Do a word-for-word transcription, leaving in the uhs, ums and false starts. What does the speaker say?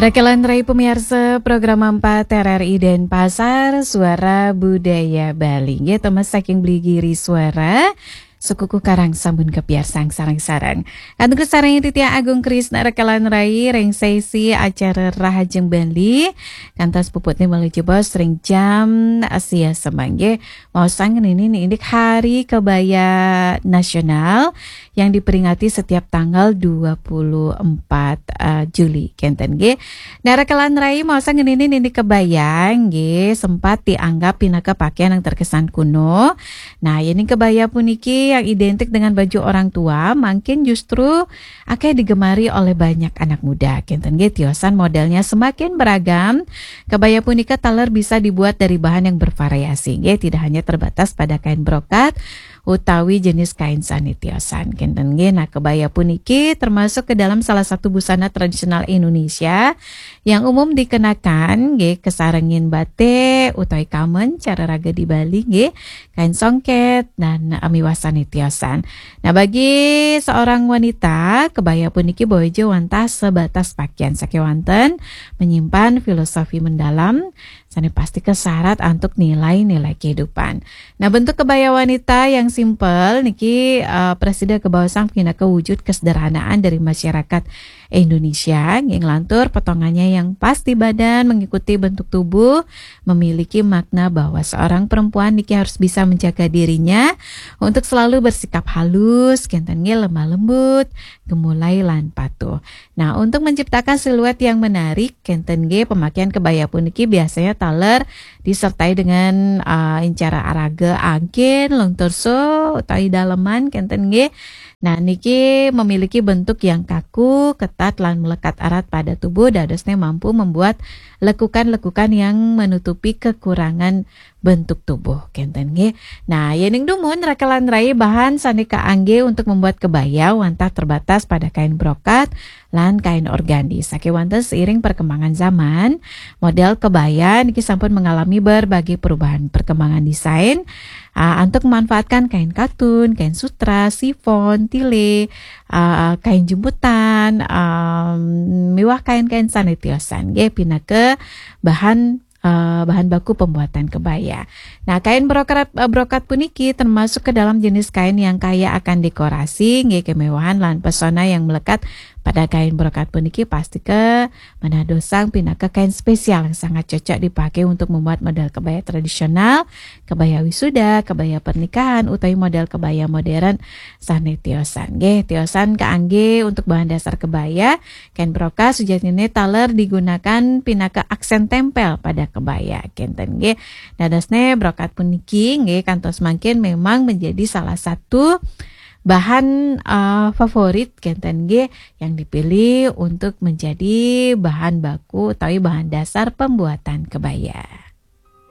Rakelan rai pemirsa program empat R R I Denpasar, Suara Budaya Bali. Nggih, Thomas saking Bligiri Suara, Sekuku Karang sambun kepiarsang sareng-sareng. Kantun sareng Titi Agung Krisna rakelan rai ring sesi acara Rahajeng Bali. Kantos puputne malih jebos ring jam sia semangge. Maosang nini indik Hari Kebaya Nasional yang diperingati setiap tanggal dua puluh empat, eh, Juli. Kenten nggih. Nah, rakelan rai maosang nini indik kebaya nggih sempat dianggap pinaka pakaian yang terkesan kuno. Nah, yening kebaya puniki yang identik dengan baju orang tua, mungkin justru akeh digemari oleh banyak anak muda. Kenten nggih, tiosan modelnya semakin beragam. Kebaya punika taler bisa dibuat dari bahan yang bervariasi nggih, tidak hanya terbatas pada kain brokat utawi jenis kain sane tiosan. Kenten nggih, nah, kebaya puniki termasuk ke dalam salah satu busana tradisional Indonesia yang umum dikenakan nggih kesarengin batik utawi kamen cara raga di Bali nggih, kain songket dan, eh, miwah sane tiosan. Nah, bagi seorang wanita, kebaya puniki bojo wantah sebatas pakaian sakewanten menyimpan filosofi mendalam sane pasti kesyarat antuk nilai-nilai kehidupan. Nah, bentuk kebaya wanita yang simpel niki, eh, prasida kabaosang pinaka wujud kesederhanaan dari masyarakat Indonesia. Nggih, nglantur potongannya yang pas di badan, mengikuti bentuk tubuh, memiliki makna bahwa seorang perempuan niki harus bisa menjaga dirinya untuk selalu bersikap halus, kenten nggih lemah lembut, gemulai lan patuh. Nah, untuk menciptakan siluet yang menarik, kenten nggih pemakaian kebaya puniki biasanya taler disertai dengan, eh, incara araga angkin, long torso, utawi daleman, kenten nggih. Nah, niki memiliki bentuk yang kaku, ketat, lan melekat erat pada tubuh, dadosnya mampu membuat lekukan-lekukan yang menutupi kekurangan bentuk tubuh, kenten nggih. Nah, yening dumun rakelan rai bahan sane kaangge untuk membuat kebaya wantah terbatas pada kain brokat lan kain organdi. Sakewanten seiring perkembangan zaman, model kebaya niki sampun mengalami berbagai perubahan perkembangan desain, ah, untuk memanfaatkan kain katun, kain sutra, sifon, tile, ah, kain jemputan, am, miwah kain-kain sane tiosan nggih pinaka bahan, eh, bahan baku pembuatan kebaya. Nah, kain brokat, eh, brokat puniki termasuk ke dalam jenis kain yang kaya akan dekorasi nggih, kemewahan lan pesona yang melekat pada kain brokat puniki pasti ke menadosang pinaka kain spesial yang sangat cocok dipakai untuk membuat model kebaya tradisional, kebaya wisuda, kebaya pernikahan, utawi model kebaya modern sane tiosan. Nggih, tiosan kaangge untuk bahan dasar kebaya, kain brokat sujatine taler digunakan pinaka aksen tempel pada kebaya. Kenten nggih. Dadosne brokat puniki nggih kantos mangkin memang menjadi salah satu bahan, eh, favorit kenten nggih yang dipilih untuk menjadi bahan baku utawi bahan dasar pembuatan kebaya.